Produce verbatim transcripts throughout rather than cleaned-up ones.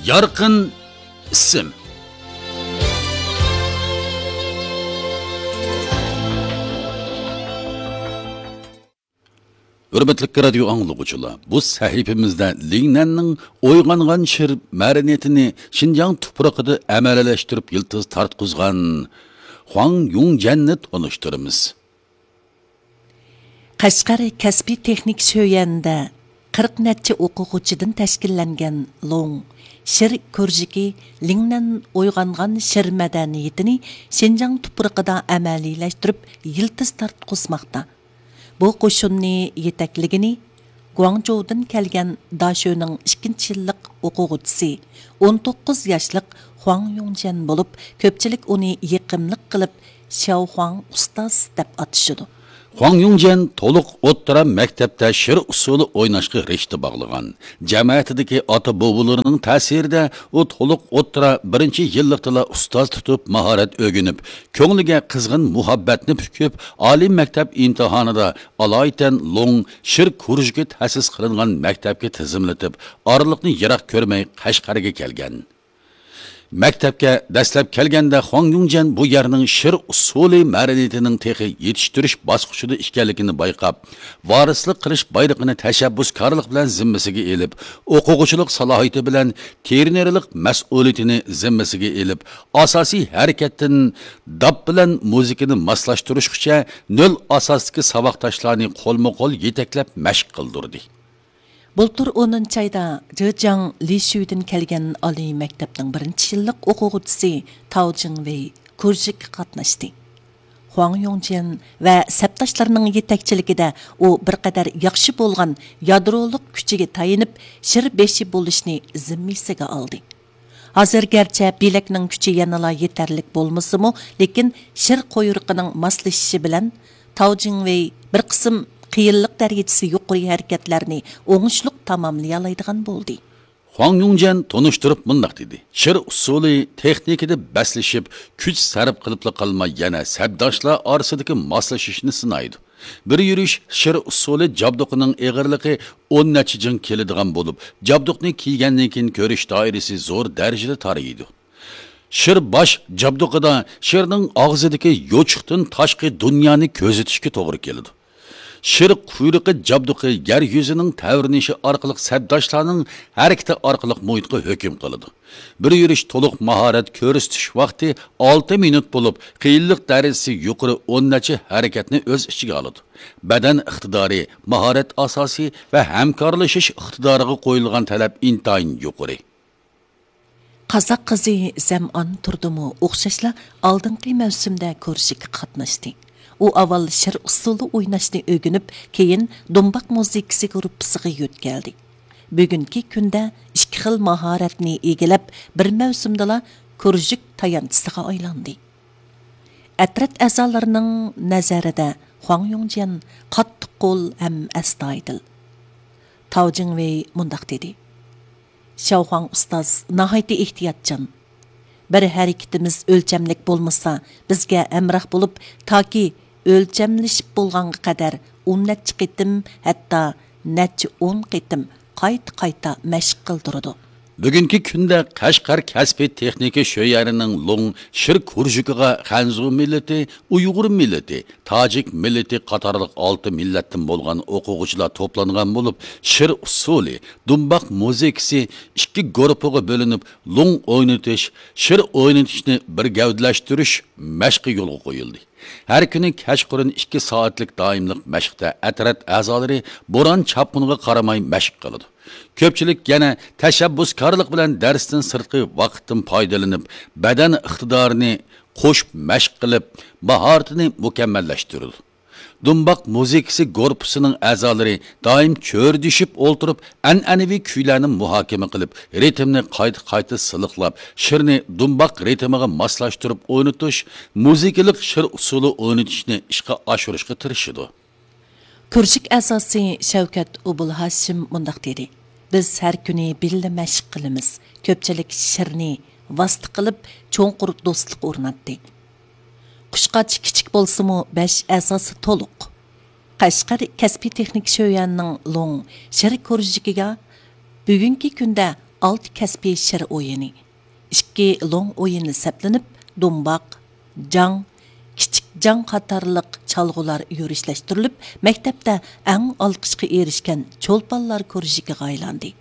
يارقىن ئىسىم. ھۆرمەتلىك رادىيو ئاڭلىغۇچىلار، بۇ سەھىپىمىزدە لىڭنەننىڭ ئويغانغان شىر مەدەنىيىتىنى شىنجاڭ تۇپرىقىدا ئەمەلىيلەشتۈرۈپ يىلتىز تارتقۇزغان خۇاڭ يۇڭجيەننى تونۇشتۇرىمىز. قەشقەر كەسپىي تېخنىك شۆيەنىدە قىرىق نەچچە ئوقۇغۇچىدىن تەشكىللەنگەن لوڭ شىر كۇرژۇكى لىڭنەن ئويغانغان شىر مەدەنىيىتىنى شىنجاڭ تۇپرىقىدا ئەمەلىيلەشتۈرۈپ يىلتىز تارتقۇزماقتا. بۇ قوشۇننى يېتەكلىگىنى گۇاڭجۇدىن كەلگەن داشۆنىڭ ئىككىنچى يىللىق ئوقۇغۇچىسى، ئون توققۇز ياشلىق خۇاڭ يۇڭجيەن بولۇپ، كۆپچىلىك ئۇنى يېقىملىق قىلىپ شياۋخۇاڭ ئۇستاز دەپ ئاتىشىدۇ. خۇاڭ يۇڭجيەن تولۇق ئوتتۇرا مەكتەپتە شىر ئۇسسۇلى ئويناشقا رىشتە باغلىغان. جەمەتىدىكى ئاتا-بوۋىلىرىنىڭ تەسىرىدە ئۇ تولۇق ئوتتۇرا بىرىنچى يىللىقتىلا ئۇستاز تۇتۇپ ماھارەت ئۆگىنىپ، كۆڭلىگە قىزغىن مۇھەببەتنى پۈكۈپ، ئالىي مەكتەپ ئىمتىھانىدا ئالايىتەن لوڭ شىر كۇرژۇكى تەسىس قىلىنغان مەكتەپكە تىزىملىتىپ، ئارىلىقنى يىراق كۆرمەي قەشقەرگە كەلگەن. مەكتەپكە دەسلەپ كەلگەندە خۇاڭ يۇڭجيەن بۇ يەرنىڭ شىر ئۇسسۇلى مەدەنىيىتىنىڭ تېخى يېتىشتۈرۈش باسقۇچىدا ئىكەنلىكىنى بايقاپ، ۋارىسلىق قىلىش بايرىقىنى تەشەببۇسكارلىق بىلەن زىممىسىگە ئېلىپ، ئوقۇغۇچىلىق سالاھىيىتى بىلەن تېرېنېرلىق مەسئۇلىيىتىنى زىممىسىگە ئېلىپ، ئاساسىي ھەرىكەتتىن داپ بىلەن مۇزىكىنى ماسلاشتۇرۇشقىچە نۆل ئاساستىكى ساۋاقداشلارنى قولمۇ قول يېتەكلەپ مەشىق قىلدۇردى. بۇلتۇر ئونىنچى ئايدا جېجياڭ لىشۈدىن كەلگەن ئالىي مەكتەپنىڭ بىرىنچى يىللىق ئوقۇغۇچىسى تاۋ جىڭۋېي كۇرژۇكقا قاتناشتى. خۇاڭ يۇڭجيەن ۋە سەپداشلىرىنىڭ يېتەكچىلىكىدە ئۇ بىر قەدەر ياخشى بولغان يادرولۇق كۈچىگە تايىنىپ، شىر بېشى بولۇشنى زىممىسىگە ئالدى. ھازىر گەرچە بىلەكنىڭ كۈچى يەنىلا يېتەرلىك بولمىسىمۇ، لېكىن شىر قۇيرۇقىنىڭ ماسلىشىشى بىلەن تاۋ جىڭۋېي بىر قىسىم قىيىنلىق دەرىجىسى يۇقىرى ھەرىكەتلەرنى ئوڭۇشلۇق تاماملىيالايدىغان بولدى. خۇاڭ يۇڭجيەن تونۇشتۇرۇپ مۇنداق دېدى: شىر ئۇسسۇلى تېخنىكىدا بەسلىشىپ، كۈچ سەرپ قىلىپلا قالماي، يەنە سەپداشلار ئارىسىدىكى ماسلىشىشنى سىنايدۇ. بىر يۈرۈش شىر ئۇسسۇلى جابدۇقىنىڭ ئېغىرلىقى ئون نەچچە جىڭ كېلىدىغان بولۇپ، جابدۇقنى كىيگەندىن كېيىن كۆرۈش دائىرىسى زور دەرىجىدە تارىيىدۇ. شىر باش جابدۇقىدا شىرنىڭ ئاغزىدىكى يوچۇقتىن تاشقى دۇنيانى كۆزىتىشكە توغرا كېلىدۇ. شىر قۇيرۇقى جابدۇقى يەر يۈزىنىڭ تەۋرىنىشى ئارقىلىق سەپداشلارنىڭ ھەرىكىتى ئارقىلىق مۇھىتقا ھۆكۈم قىلىدۇ. بىر يۈرۈش تولۇق ماھارەت كۆرسىتىش ۋاقتى ئالتە مىنۇت بولۇپ، قىيىنلىق دەرىجىسى يۇقىرى ئون نەچچە ھەرىكەتنى ئۆز ئىچىگە ئالىدۇ. بەدەن ئىقتىدارى، ماھارەت ئاساسى ۋە ھەمكارلىشىش ئىقتىدارىغا قويۇلغان تەلەپ ئىنتايىن يۇقىرى. قازاق قىزى زەمئان تۇردىمۇ ئوخشاشلا ئالدىنقى مەۋسۇمدە كۇرژۇكقا قاتناشتى. ئۇ ئاۋۋال شىر ئۇسسۇلى ئويناشنى ئۆگىنىپ، كېيىن دۇمباق مۇزىكىسى گۇرۇپپىسىغا يۆتكەلدى. بۈگۈنكى كۈندە ئىككى خىل ماھارەتنى ئىگىلەپ، بىر مەۋسۇمدىلا كۇرژۇك تايانچىسىغا ئايلاندى. ئەترەت ئەزالىرىنىڭ نەزەرىدە خۇاڭ يۇڭجيەن قاتتىق قول ھەم ئەستايىدىل. تاۋ جىڭۋېي مۇنداق دېدى: شياۋخۇاڭ ئۇستاز ناھايىتى ئېھتىياتچان. بىر ھەرىكىتىمىز ئۆلچەملىك بولمىسا، بىزگە ھەمراھ بولۇپ، تاكى ئۆلچەملىشىپ بولغانغا قەدەر ئون نەچچە قېتىم، ھەتتا نەچچە ئون قېتىم قايتا-قايتا مەشىق قىلدۇرىدۇ. بۈگۈنكى كۈندە قەشقەر كەسپىي تېخنىكا شۆيەنىنىڭ لوڭ شىر كۇرژۇكىغا خەنزۇ مىللىتى، ئۇيغۇر مىللىتى، تاجىك مىللىتى قاتارلىق ئالتە مىللەتتىن بولغان ئوقۇغۇچىلار توپلانغان بولۇپ، شىر ئۇسسۇلى، دۇمباق مۇزىكىسى ئىككى گۇرۇپپىغا بۆلۈنۈپ، لوڭ ئوينىتىش، شىر ئوينىتىشنى بىر گەۋدىلەشتۈرۈش مەشقى يولغا قويۇلدى. ھەر كۈنى كەچقۇرۇن ئىككى سائەتلىك دائىملىق مەشىقتە ئەترەت ئەزالىرى بوران-چاپقۇنغا قارىماي مەشىق قىلىدۇ. كۆپچىلىك يەنە تەشەببۇسكارلىق بىلەن دەرستىن سىرتقى ۋاقىتتىن پايدىلىنىپ، بەدەن ئىقتىدارىنى قوشۇپ مەشىق قىلىپ، ماھارىتىنى مۇكەممەللەشتۈرىدۇ. دۇمباق مۇزىكىسى گۇرۇپپىسىنىڭ ئەزالىرى دائىم چۆرىدىشىپ ئولتۇرۇپ، ئەنئەنىۋى كۈيلەرنى مۇھاكىمە قىلىپ، رىتىمنى قايتا-قايتا سىلىقلاپ، شىرنى دۇمباق رىتىمىغا ماسلاشتۇرۇپ ئوينىتىش، مۇزىكىلىق شىر ئۇسسۇلى ئوينىتىشنى ئىشقا ئاشۇرۇشقا تىرىشىدۇ. كۇرژۇك ئەزاسى شەۋكەت ئوبۇلھاشىم مۇنداق دېدى: بىز ھەر كۈنى بىللە مەشىق قىلىمىز. كۆپچىلىك شىرنى ۋاسىتە قىلىپ، چوڭقۇر دوستلۇق ئورناتتى. قۇشقاچ كىچىك بولسىمۇ، بەش ئەزاسى تولۇق. قەشقەر كەسپىي تېخنىك شۆيەنىڭ لوڭ شىر كۇرژۇكىغا بۈگۈنكى كۈندە ئالتە كەسپىي شىر ئويۇنى، ئىككى لوڭ ئويۇنى سەپلىنىپ، دۇمباق، جاڭ، كىچىك جاڭ قاتارلىق چالغۇلار يۈرۈشلەشتۈرۈلۈپ، مەكتەپتە ئەڭ ئالقىشقا ئېرىشكەن چولپانلار كۇرژۇكىغا ئايلاندى.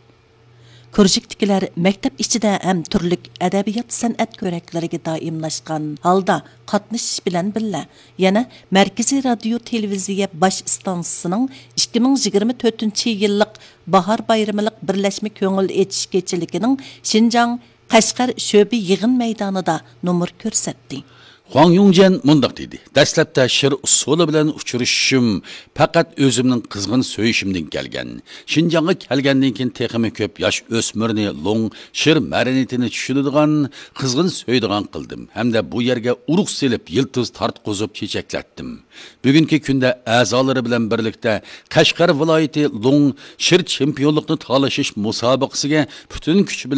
كۇرژۇكتىكىلەر مەكتەپ ئىچىدە ھەم تۈرلۈك ئەدەبىيات-سەنئەت كۆرەكلىرىگە دائىملاشقان ھالدا قاتنىشىش بىلەن بىللە، يەنە مەركىزىي رادىيو تېلېۋىزىيە باش ئىستانسىسىنىڭ ئىككى مىڭ يىگىرمە تۆتىنچى يىللىق باھار بايرىملىق بىرلەشمە كۆڭۈل ئېچىش كېچىلىكىنىڭ شىنجاڭ قەشقەر شۆبە يىغىن مەيدانىدا نومۇر كۆرسەتتى. خۇاڭ يۇڭجيەن مۇنداق دېدى: دەسلەپتە شىر ئۇسسۇلى بىلەن ئۇچرىشىشىم پەقەت ئۆزۈمنىڭ قىزغىن سۆيۈشۈمدىن كەلگەن. شىنجاڭغا كەلگەندىن كېيىن تېخىمۇ كۆپ ياش ئۆسمۈرنى لوڭ شىر مەدەنىيىتىنى چۈشىنىدىغان، قىزغىن سۆيىدىغان قىلدىم ھەمدە بۇ يەرگە ئۇرۇق سېلىپ، يىلتىز تارتقۇزۇپ چېچەكلەتتىم. بۈگۈنكى كۈندە ئەزالىرى بىلەن بىرلىكتە قەشقەر ۋىلايىتى لوڭ شىر چېمپىيونلۇقنى تالىشىش مۇسابىقىسىگە پۈتۈن كۈچ بىلەن